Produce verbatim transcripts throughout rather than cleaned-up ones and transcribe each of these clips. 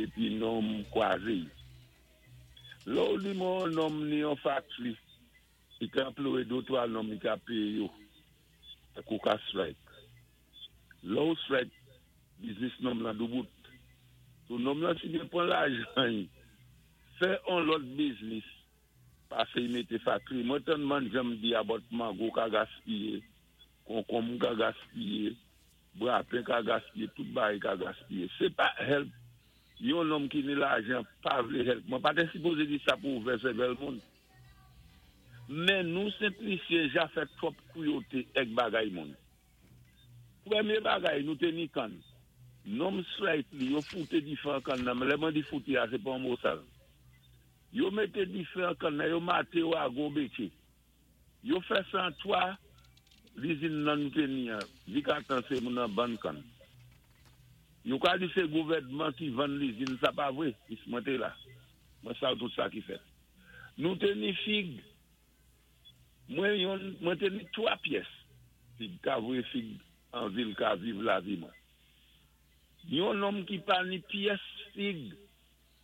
Épi nonm kwazé. Lè ou di mwen nonm ni yon factory, i ka anplwayé dé twa nonm i ka péyé yo. Ou ka strike. Lè ou strike, business nonm lan doubout. So nonm lan si byen pwan lajan, fè on lòt business, pasé i mété factory. Mwen tann man janm di about mango ka gaspiyé, konkonm ka gaspiyé, bwapen ka gaspiyé, tout bagay ka gaspiyé. Sé pa help yon nonm ki ni lajan pa vlé help. Mwen pa té sipozé di sa pou ouvè sèvèl moun. Men nou Sent Lisyen ja fè twòp kwiyoté èk bagay moun. Pwémyé bagay nou té ni kann. Nonm strike li, yo fouté difé an kann nan. Lè mwen di fouté a, sé pa yon mo sal. Yo mété difé an kann nan, yo maté yo a gon bétché. Yo fè sa an twa lizin nan nou té ni an. Vikatan sé moun nan ban kann. Yo ka di sé gouvèdman ki vann lizin, sa pa vwé. Is mwen té la. Mwen sav tout sa ki fèt. Nou té ni fig. Mwen yon, mwen té ni twa pyès. Fig ka vwé fig an vil ka viv lavi mwen. Yon nonm ki pa ni pyès fig,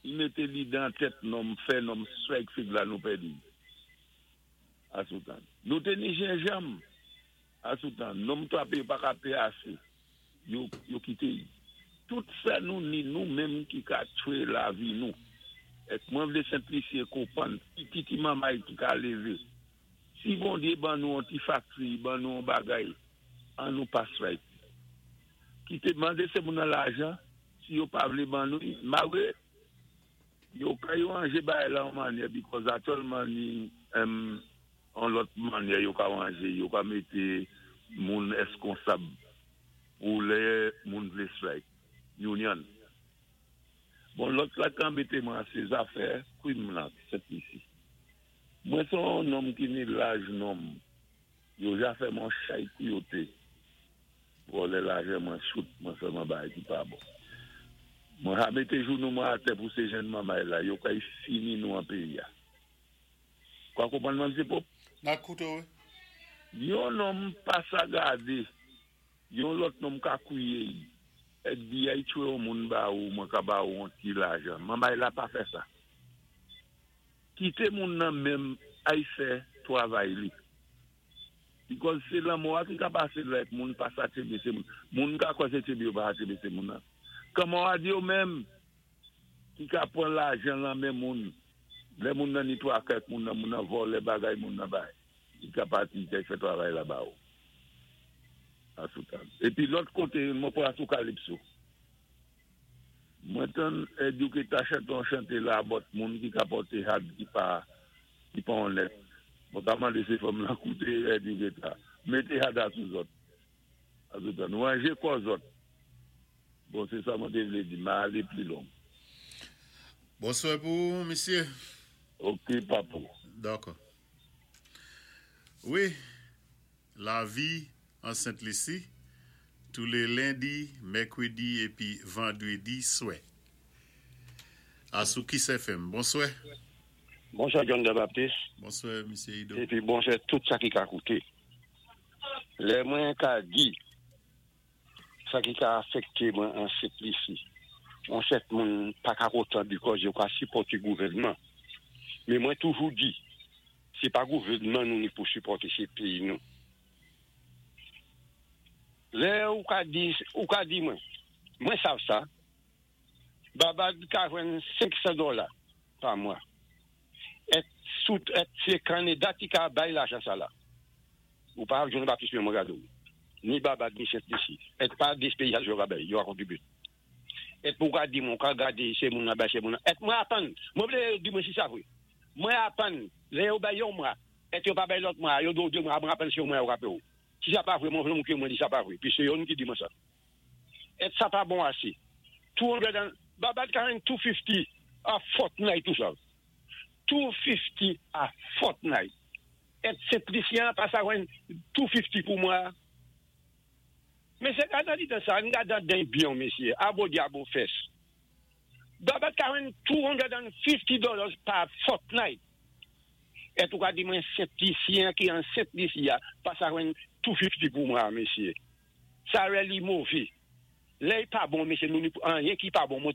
i mété li dan tèt nonm, fè nonm strike fig la nou pèdi. Asoutan. Nou té ni jenjanm. Asoutan. Nonm twapé pa ka péyé asé. Yo, yo kité yi. Tout sa nou ni nou menm ki ka tchwé lavi nou. Èk mwen vlé Sent Lisyen konpwann, ti ti manmay ki ka lévé. Si Bondyé ban nou an ti factory, ban nou an bagay, an nou pa strike. Kité mandé sé moun nan lajan, si yo pa vlé ban nou, malgwé, yo ka yo anjé bagay la an mannyè, because aktyèlman ni um, an lòt mannyè yo ka anjé, yo ka mété moun eskonsab pou lè moun vlé strike. Union. Bon, lòt la k anbété mwen, sé zafè kwim lan, Sent Lisi. Mwen son nonm ki ni laj nonm, yo ja fè mwen chay kwiyoté. Vòlè lajan mwen chout, mwen fè mwen bagay ki pa bon. Mwen ha mété jounou mwen atè pou sé jenn manmay la, yo kay fini nou an péyi ya. Kwa konpwann mwen msye Pop? N ap kouté ou. Yon nonm pa sa gadé, yon lòt nonm ka kwiye yi. F B I tchwé yon moun ba ou, mwen ka ba ou an ti lajan. Manmay la pa fè sa. Kité moun nan menm ay fè twavay li. Because sé lanmò a ki ka pasé lèk moun pa sa tchébé sé moun. Moun ka kwa sé tchébé yo pa sa tchébé sé moun nan. Kòman a di yo menm ki ka pwan lajan lan men moun. Lè moun nan ni twa kèk moun nan moun nan vòlè bagay moun nan bay. I ka pati kay fè travay la ba ou. Asoutan. Épi lòt koté, mwen pran sou Calypso. Mwen tann Eduke ta chanté an chanté la about moun ki ka pòté had ki pa ki pa onèt. Mwen ta mandé sé fanm lan kouté Eduke ta. Mété had a sou zòt. Asoutan. Nou anjé kò zòt. Bon, sé sa mwen té vlé di. Ma alé pli long. Bonswè pou misyé. Ok, papou. Dakò. Wi, lavi an Sent Lisi, tou lé lendi, mèkwédi épi vandwédi swè. A sou Kiss F M. Bonswè. Bonswè John de Baptiste. Bonswè, misyé Ido. Épi bonswè tout sa ki ka kouté. Lè mwen ka di, sa ki ka afèkté mwen an Sent Lisi, on sèt moun pa ka kontan because yo ka sipòté gouvèdman. Men mwen toujou di, sé pa gouvèdman nou ni pou sipòté, sé péyi nou. Lè ou ka di, ou ka di mwen, mwen sav sa, Babad ka jwenn senksan dola pa mwa. Et sout, et sé Kanada ki ka bay lajan sa la. Ou pa John Baptiste mwen gado. Ni Babad ni Sent Lisi. Et pa des péyi yo ka bay, yo ka kontribwé. Et pou ka di mwen, ka gadé sé moun nan bay sé moun nan. Et mwen apann, mwen vlé di mwen si sa vwé. Mwen apann, lè yo bay yon mwa, et yo pa bay lòt mwa, yo do dé mwa, mwen apann sé yon mwa yo ka péyé ou. Si sa pa vwé, mwen vlé mwen mwen di sa pa vwé. Pi sé yon ki di mwen sa. Et sa pa bon asé. de san, Babad ka jwenn de san senkant a fortnight tout sa. de san senkant a fortnight. Et Sent Lisyen pa sa jwenn de san senkant pou mwa. Men sé gadan di dan sa, n gadan den byon, misyé. Abo di abo fès. Babad ka jwenn de san senkant dollars pa fortnight. Et ou ka di mwen Sent Lisyen ki an Sent Lisi ya, pa sa jwenn de san senkant pou mwa, misyé. Sa really mové. Lè pa bon, misyé, nou ni anyen ki pa bon, mwen